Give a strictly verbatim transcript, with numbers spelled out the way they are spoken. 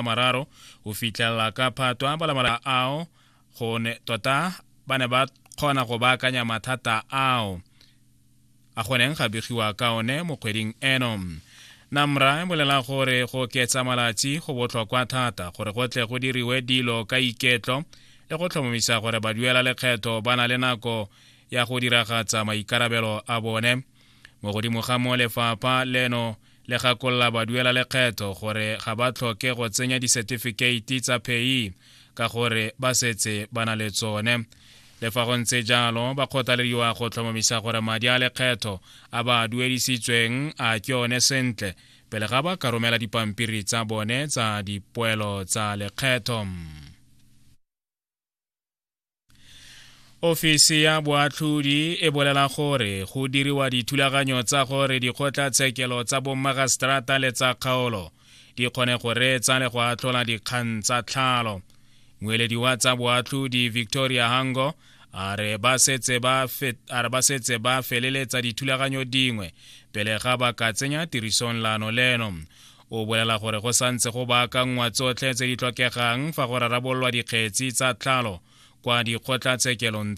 Mararo go fitlhelela ka Phatwe a bala ao go ne tota ba ne ba kgona go baakanya mathata ao a goneng ga begiwa ka one mo kgweding eno. Namra e bolela gore go oketsa malatsi go botlhokwa thata gore go tle go diriwe dilo ka iketlo le go tlhomamisa gore baduela lekgetho ba na le nako ya go diragatsa maikarabelo a bone. Mo godimo ga mo, lefapha leno le gakolola baduela lekgetho gore ga ba tlhoke go tsenya disetifikeiti tsa P A Y E ka gore ba setse ba na le tsone. Le fa go ntse jalo, ba kgothalediwa go tlhomamisa gore madi a lekgetho a ba a duedisitsweng a ke one sentle pele ga ba ka romela dipampiri tsa bone tsa dipoelo tsa lekgetho. Ofisi ya boatlhodi e bolela gore go diriwa dithulaganyo tsa gore dikgotlatshekelo tsa bommagaseterata le tsa kgaolo di kgone go reetsa le go atlhola dikgang tsa tlhalo. Moeledi wa tsa boatlhodi Victoria Hango a re ba setse ba a re ba setse ba feleletsa dithulaganyo dingwe pele ga ba ka tsenya tirisong lano leno. O bolela gore go santse go baakangwa tsotlhe tse di tlhokegang fa go rarabololwa dikgetsi tsa tlhalo kwa dikgotlatshekelong.